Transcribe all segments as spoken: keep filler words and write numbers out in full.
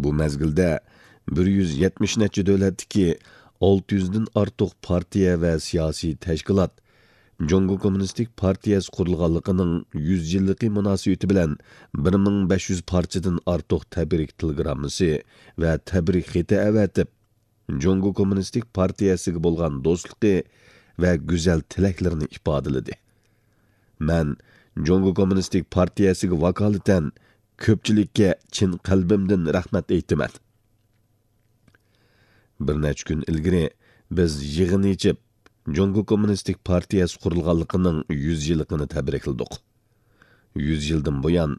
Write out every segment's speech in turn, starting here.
بۇ مەزگىلدە بىر يۈز يەتمىش نەچچە دۆلەتتىكى ئالتە يۈزدىن ئارتۇق پارتىيە ۋە سىياسىي تەشكىلات جۇڭگو كوممۇنىستىك پارتىيەسى قۇرۇلغانلىقىنىڭ يۈز يىللىقى مۇناسىۋىتى بىلەن بىر مىڭ بەش يۈز پارچىدىن ئارتۇق تەبرىك تېلېگراممىسى ۋە تەبرىك خېتى ئەۋەتىپ، جۇڭگو كوممۇنىستىك پارتىيەسىگە بولغان دوستلۇقى ۋە گۈزەل تىلەكلىرىنى ئىپادىلىدى. مەن جۇڭگو كوممۇنىستىك پارتىيەسىگە ۋاكالىتەن كۆپچىلىككە چىن قەلبىمدىن رەھمەت ئېيتىمەن. بىر نەچچە كۈن ئىلگىرى بىز يىغىن ئېچىپ، جۇڭگو كوممۇنىستىك پارتىيەسى قۇرۇلغانلىقىنىڭ يۈز يىللىقىنى تەبرىكلىدۇق. يۈز يىلدىن بۇيان،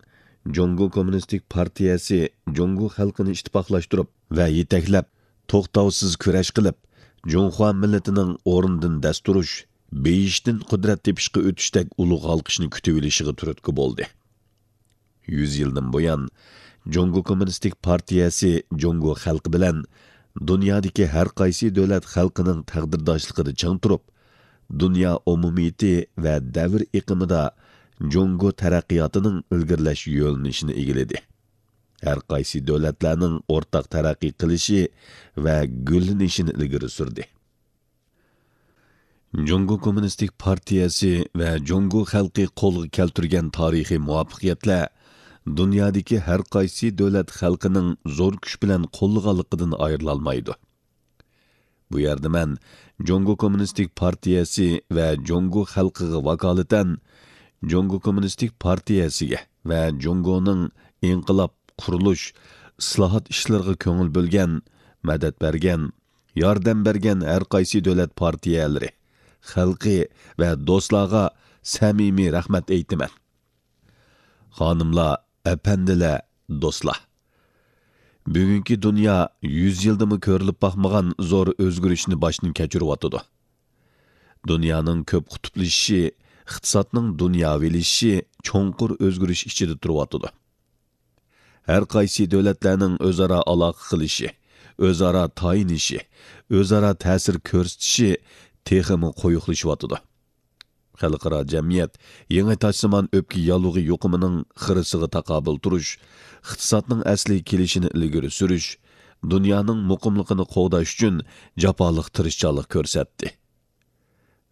جۇڭگو كوممۇنىستىك پارتىيەسى جۇڭگو خەلقىنى ئىتتىپاقلاشتۇرۇپ ۋە يېتەكلەپ، توختاۋسىز كۈرەش قىلىپ، جۇڭخۇا مىللىتىنىڭ ئورنىدىن دەس تۇرۇش، بېيىشتىن قۇدرەت تېپىشقا ئۆتۈشتەك ئۇلۇغ ھالقىشنى كۈتۈۋېلىشىغا تۈرتكە بولدى. يۈز يىلدىن بۇيان، جۇڭگو كوممۇنىستىك پارتىيەسى جۇڭگو خەلقى بىلەن دۇنيادىكى ھەر قايسى دۆلەت خەلقىنىڭ تەقدىرداشلىقىدا چىڭ تۇرۇپ، دۇنيا ئومۇمىيىتى ۋە دەۋر ئېقىمىدا جۇڭگو تەرەققىياتىنىڭ ئىلگىرىلەش يۆنىلىشىنى ئىگىلىدى. ھەر قايسى دۆلەتلەرنىڭ ئورتاق تەرەققىي قىلىشى ۋە گۈللىنىشىنى ئىلگىرى سۈردى. جۇڭگو كوممۇنىستىك پارتىيەسى ۋە جۇڭگو خەلقى قولغا كەلتۈرگەن تارىخىي مۇۋەپپەقىيەتلەر دۇنيادىكى ھەر قايسى دۆلەت خەلقىنىڭ زور كۈچ بىلەن قوللىغانلىقىدىن ئايرىلالمايدۇ. بۇ يەردە مەن جۇڭگو كوممۇنىستىك پارتىيەسى ۋە جۇڭگو خەلقىگە ۋاكالىتەن جۇڭگو كوممۇنىستىك پارتىيەسىگە ۋە جۇڭگونىڭ ئىنقىلاب، قۇرۇلۇش، ئىسلاھات ئىشلىرىغا كۆڭۈل بۆلگەن، مەدەت بەرگەن، ياردەم بەرگەن ھەر قايسى دۆلەت پارتىيەلىرى، خەلقى ۋە دوستلارغا سەمىمىي رەھمەت ئېيتىمەن. خانىملار، ئەپەندىلەر، دوستلار! بۈگۈنكى دۇنيا يۈز يىلدىمۇ كۆرۈلۈپ باقمىغان زور ئۆزگىرىشنى باشتىن كەچۈرۈۋاتىدۇ. دۇنيانىڭ كۆپ قۇتۇپلىشىشى، ئىقتىسادنىڭ دۇنياۋىلىشىشى چوڭقۇر ئۆزگىرىش ئىچىدە تۇرۇۋاتىدۇ. ھەر قايسى دۆلەتلەرنىڭ ئۆزئارا ئالاقە قىلىشى، ئۆزئارا تايىنىشى، ئۆزئارا تەسىر كۆرسىتىشى تېخىمۇ قويۇقلىشىۋاتىدۇ. خەلقئارا جەمئىيەت يېڭى تاجسىمان ئۆپكە ياللۇغى يۇقۇمىنىڭ خىرىسىغا تاقابىل تۇرۇش، ئىقتىسادنىڭ ئەسلىگە كېلىشىنى ئىلگىرى سۈرۈش، دۇنيانىڭ مۇقىملىقىنى قوغداش ئۈچۈن جاپالىق تىرىشچانلىق كۆرسەتتى.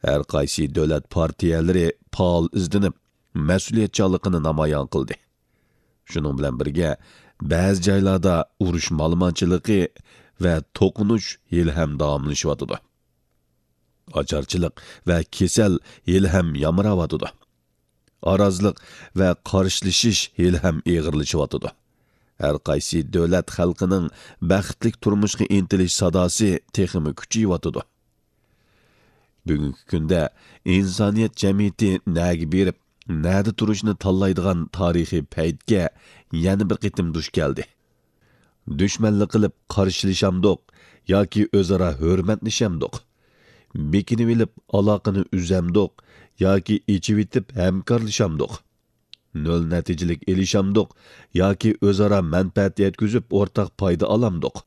ھەر قايسى دۆلەت پارتىيەلىرى پائال ئىزدىنىپ، مەسئۇلىيەتچانلىقىنى نامايان قىلدى. شۇنىڭ بىلەن بىرگە، بەزى جايلاردا ئۇرۇش مالىمانچىلىقى ۋە توقۇنۇش ھېلىھەم داۋاملىشىۋاتىدۇ. ئاچارچىلىق ۋە كېسەل ھېلىھەم يامراۋاتىدۇ. ئارازلىق ۋە قارشىلىشىش ھېلىھەم ئېغىرلىشىۋاتىدۇ. ھەر قايسى دۆلەت خەلقىنىڭ بەختلىك تۇرمۇشقا ئىنتىلىش ساداسى تېخىمۇ كۈچىيىۋاتىدۇ. بۈگۈنكى كۈندە ئىنسانىيەت جەمئىيىتى نەگە بېرىپ، نەدە تۇرۇشنى تاللايدىغان تارىخىي پەيتكە يەنە بىر قېتىم دۇچ كەلدى. دۈشمەنلىك قىلىپ قارشىلىشامدۇق ياكى ئۆزئارا ھۆرمەتلىشەمدۇق؟ بېكىنىۋېلىپ ئالاقىنى ئۈزەمدۇق ياكى ئېچىۋېتىپ ھەمكارلىشامدۇق؟ نۆل نەتىجىلىك ئېلىشامدۇق ياكى ئۆزئارا مەنپەئەت يەتكۈزۈپ ئورتاق پايدا ئالامدۇق؟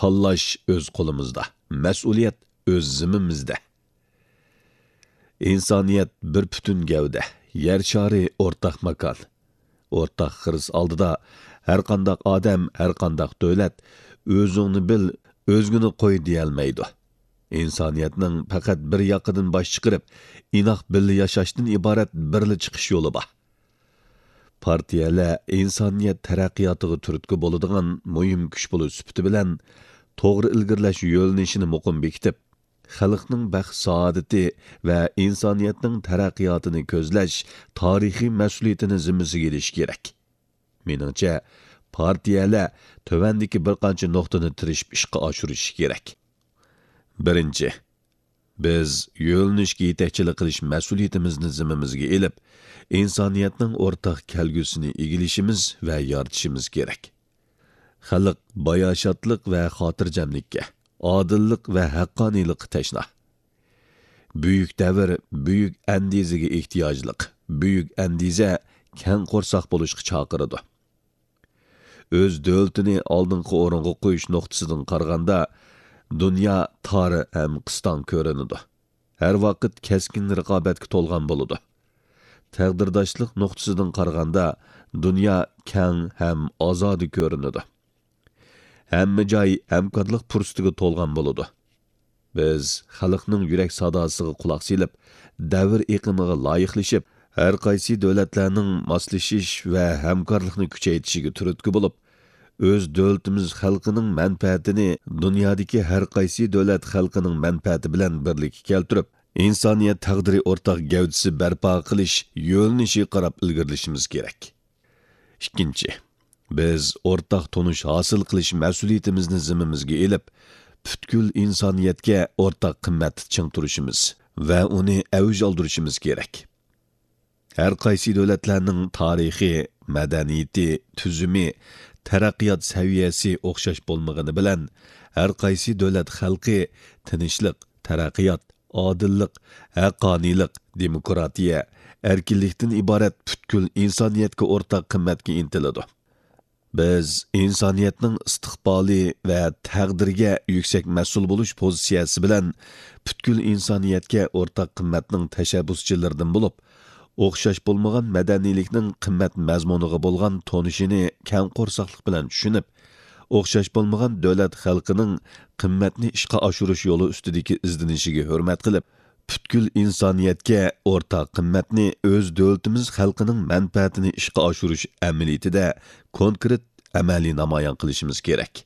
تاللاش ئۆز قولىمىزدا، مەسئۇلىيەت ئۆز زىممىمىزدە. ئىنسانىيەت بىر پۈتۈن گەۋدە، يەر شارى ئورتاق ماكان. ئورتاق خىرىس ئالدىدا ھەرقانداق ئادەم، ھەرقانداق دۆلەت «ئۆزۈڭنى بىل، ئۆزگىنى قوي» دېيەلمەيدۇ. ئىنسانىيەتنىڭ پەقەت بىر ياقىدىن باش چىقىرىپ، ئىناق بىللە ياشاشتىن ئىبارەت بىرلا چىقىش يولى بار. پارتىيەلەر ئىنسانىيەت تەرەققىياتىغا تۈرتكە بولىدىغان مۇھىم كۈچ بولۇش سۈپىتى بىلەن، توغرا ئىلگىرىلەش يۆنىلىشىنى مۇقىم بېكىتىپ، خەلقنىڭ بەخت-سائادىتى ۋە ئىنسانىيەتنىڭ تەرەققىياتىنى كۆزلەش تارىخىي مەسئۇلىيىتىنى زىممىسىگە ئېلىشى كېرەك. مېنىڭچە، پارتىيەلەر تۆۋەندىكى بىر قانچە نۇقتىنى تىرىشىپ ئىشقا ئاشۇرۇشى كېرەك. بىرىنچى، بىز يۆنىلىشكە يېتەكچىلىك قىلىش مەسئۇلىيىتىمىزنى زىممىمىزگە ئېلىپ، ئىنسانىيەتنىڭ ئورتاق كەلگۈسىنى ئىگىلىشىمىز ۋە يارىتىشىمىز كېرەك. خەلق باياشاتلىق ۋە خاتىرجەملىككە، ئادىللىق ۋە ھەققانىيلىققا تەشنا. بۈيۈك دەۋر بۈيۈك ئەندىزىگە ئېھتىياجلىق. بۈيۈك ئەندىزە كەڭ قورساق بولۇشقا چاقىرىدۇ. ئۆز دۆلىتىنى ئالدىنقى ئورۇنغا قويۇش نۇقتىسىدىن قارىغاندا، دۇنيا تار ھەم قىستاڭ كۆرۈنىدۇ. ھەر ۋاقىت كەسكىن رىقابەتكە تولغان بولىدۇ. تەقدىرداشلىق نۇقتىسىدىن قارىغاندا، دۇنيا كەڭ ھەم ئازادە كۆرۈنىدۇ. ھەممە جاي ھەمكارلىق پۇرسىتىگە تولغان بولىدۇ. بىز خەلقنىڭ يۈرەك ساداسىغا قۇلاق سېلىپ، دەۋر ئېقىمىغا لايىقلىشىپ، ھەر قايسى دۆلەتلەرنىڭ ماسلىشىش ۋە ھەمكارلىقنى كۈچەيتىشىگە تۈرتكە بولۇپ، ئۆز دۆلىتىمىز خەلقىنىڭ مەنپەئەتىنى دۇنيادىكى ھەر قايسى دۆلەت خەلقىنىڭ مەنپەئەتى بىلەن بىرلىككە كەلتۈرۈپ، ئىنسانىيەت تەقدىرى ئورتاق گەۋدىسى بەرپا قىلىش يۆنىلىشىگە قاراپ ئىلگىرىلىشىمىز كېرەك. ئىككىنچى، بىز ئورتاق تونۇش ھاسىل قىلىش مەسئۇلىيىتىمىزنى زىممىمىزگە ئېلىپ، پۈتكۈل ئىنسانىيەتكە ئورتاق قىممەتتە چىڭ تۇرۇشىمىز ۋە ئۇنى ئەۋج ئالدۇرۇشىمىز كېرەك. ھەر قايسى دۆلەتلەرنىڭ تارىخى، مەدەنىيىتى، تۈزۈمى، تەرەققىيات سەۋىيەسى ئوخشاش بولمىغىنى بىلەن، ھەر قايسى دۆلەت خەلقى تىنچلىق، تەرەققىيات، ئادىللىق، ھەققانىيلىق، دېموكراتىيە، ئەركىنلىكتىن ئىبارەت پۈتكۈل ئىنسانىيەتكە ئورتاق قىممەتكە ئىنتىلىدۇ. بىز ئىنسانىيەتنىڭ ئىستىقبالى ۋە تەقدىرىگە يۈكسەك مەسئۇل بولۇش پوزىتسىيەسى بىلەن پۈتكۈل ئىنسانىيەتكە ئورتاق قىممەتنىڭ تەشەببۇسچىلىرىدىن بولۇپ، ئوخشاش بولمىغان مەدەنىيلىكنىڭ قىممەت مەزمۇنىغا بولغان تونۇشىنى كەڭ قورساقلىق بىلەن چۈشىنىپ، ئوخشاش بولمىغان دۆلەت خەلقىنىڭ قىممەتنى ئىشقا ئاشۇرۇش يولى ئۈستىدىكى ئىزدىنىشىگە ھۆرمەت قىلىپ، پۈتكۈل ئىنسانىيەتكە ئورتاق قىممەتنى ئۆز دۆلىتىمىز خەلقىنىڭ مەنپەئەتىنى ئىشقا ئاشۇرۇش ئەمەلىيىتىدە كونكرېت ئەمەلىي نامايان قىلىشىمىز كېرەك.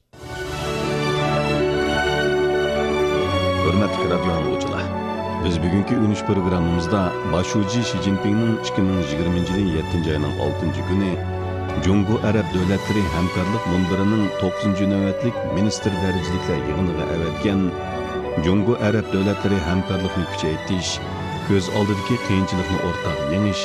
ھۆرمەتلىك رادىيو ئاڭلىغۇچىلار، بىز بۈگۈنكى ئۈنۈش پروگراممىمىزدا باش شۇجى شى جىنپىڭنىڭ ئىككى مىڭ يىگىرمىنچى يىلى يەتتىنچى ئاينىڭ ئالتىنچى كۈنى جۇڭگو ئەرەب دۆلەتلىرى ھەمكارلىق مۇنبىرىنىڭ توققۇزىنچى نۆۋەتلىك مىنىستىر دەرىجىلىكلەر يىغىنىغا ئەۋەتكەن جۇڭگو ئەرەب دۆلەتلىرى ھەمكارلىقىنى كۈچەيتىش، كۆز ئالدىدىكى قىيىنچىلىقنى ئورتاق يېڭىش،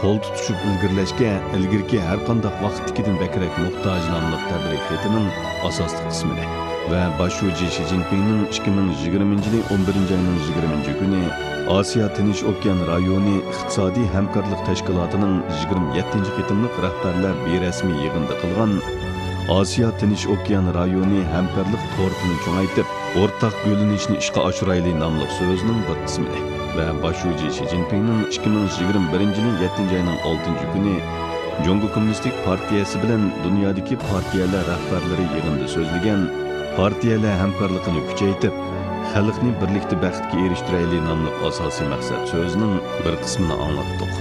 قول تۇتۇشۇپ ئىلگىرىلەشكە ئىلگىرىكى ھەر قانداق ۋاقىتتىكىدىن بەكرەك موھتاج ناملىق تەبرىك خېتىنىڭ ئاساسلىق قىسمىنى ۋە باش شۇجى شى جىنپىڭنىڭ ئىككى مىڭ يىگىرمىنچى يىلى ئون بىرىنچى ئاينىڭ يىگىرمىنچى كۈنى ئاسىيا تىنچ ئوكيان رايونى ئىقتىسادىي ھەمكارلىق تەشكىلاتىنىڭ يىگىرمە يەتتىنچى قېتىملىق رەھبەرلەر بىرەسمىي يىغىنىدا قىلغان ئاسىيا تىنچ ئوكيان رايونى ھەمكارلىق تورتىنى چوڭايتىپ، ئورتاق گۈللىنىشنى ئىشقا ئاشۇرايلى ناملىق سۆزىنىڭ بىر قىسمىنى ۋە باش شۇجى شى جىنپىڭنىڭ ئىككى مىڭ يىگىرمە بىرىنچى يىلى يەتتىنچى ئاينىڭ ئالتىنچى كۈنى جۇڭگو كوممۇنىستىك پارتىيەسى بىلەن دۇنيادىكى پارتىيەلەر رەھبەرلىرى يىغىنىدا سۆزلىگەن پارتىيەلەر ھەمكارلىقىنى كۈچەيتىپ، خەلقنى بىرلىكتە بەختكە ئېرىشتۈرەيلى ناملىق ئاساسىي مەقسەت سۆزىنىڭ بىر قىسمىنى ئاڭلاتتۇق.